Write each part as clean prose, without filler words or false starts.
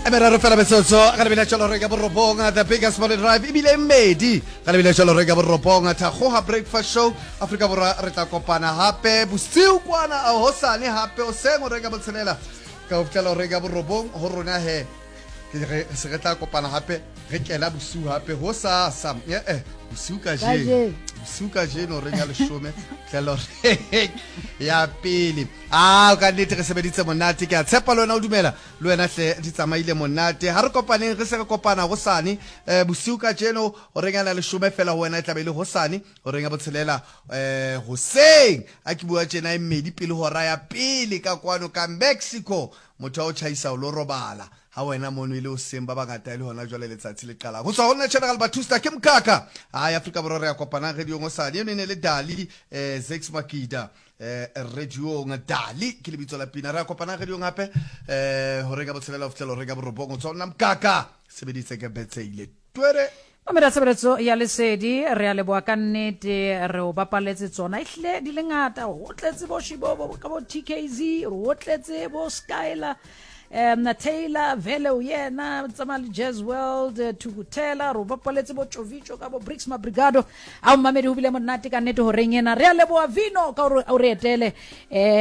Meraro fela metsotso ga lebile tšwelo re ka borobong, the biggest morning drive ebile mmedi ga lebile tšwelo re ka borobong, Thakgoga Breakfast Show. Afrika Borwa, re tla kopana gape bosiu kwana a hosane gape o seng o re ka botshelela ka go fitlhela re ka borobong go rona he ke re se re tla kopana gape re kena bosiu gape go sasa ee bosiu ka jeno, bosiu ka jeno re ya leshome tlhelo ya pele. A ka nnete re sebeditse monate, ke a tshepa le wena o dumela le wena hle di tsamaile monate. Ha re kopaneng, re se re kopana gosane um bosiu ka jeno horeng ya leshome fela, ho wena e tlabe e le gosane horeng ya botshelela um hoseng. A ke bua tjena e mmedi pele hora ya pele ka kwano ka Mexico, motho a o tjhaisa o lo robala ha wena mono e le hoseng, ba bangata e le hona jwale letsatsi le qalang. Ho tswa ho nna General Batusta ke mokaka ai Afrika Borwa, re ya kopanang radiong hosane. Eno e ne le Dali um Zex Makida radiong, Dali ke lebitso la pina. Re ya kopanang radiong hape horeng ya botshelela ho fihlela horeng ya borobong. Ho tswa ho nna mokaka sebeditse ke betseile twere. Mamela tshebeletso ya Lesedi, re a leboha ka nnete, re o bapaletse tsona ehlile di le ngata. Ho tletse bo Shibobo ka bo TKZ, ho tletse bo Skyler Taylor vele o yena tsamaya le Jazz World, Thukuthela, re o bapaletse bo Tjovico ka bo Bricks Mabrigado. A o mamedi, ho bile monate ka nnete horeng ena. Re a leboha Vino ka hore o re etele,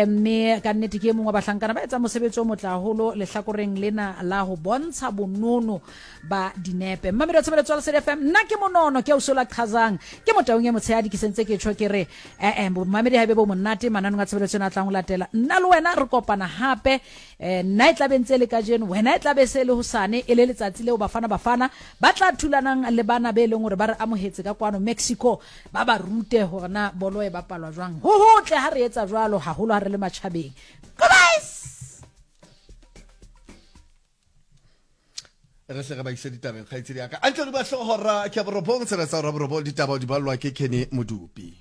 mme ka nnete ke e mongwe wa bahlankana ba etsang mosebetsi o motle haholo lehlakoreng lena la ho bontsha bonono ba dinepe. Mmamedi wa tshebeletso ya Lesedi FM, nna ke monono ke ausola qhazang ke motaung e motshehadi, ke sentse ke tjho ke re ee momamedi ha ebe bo monate mananong a tshebeletso ena a tlang ho latela. Nna le wena re kopana hape, nna e tlabe ntse e le kajeno, wena e tlabe se le hosane, e le letsatsi leo Bafana Bafana ba tla thulanang le bana be leng hore ba re amohetse ka kwano Mexico, ba ba rute hore na bolo e bapalwa jwang. Ho hotle ha re etsa jwalo, haholo ha re le matjhabeng. Goodbye. Re hle re ba ise ditabeng, kgaitsedi ya ka antle di ba hlohora ke ya borobong, tsela tsa hora borobong, ditaba di ballwa ke Kenny Modupi.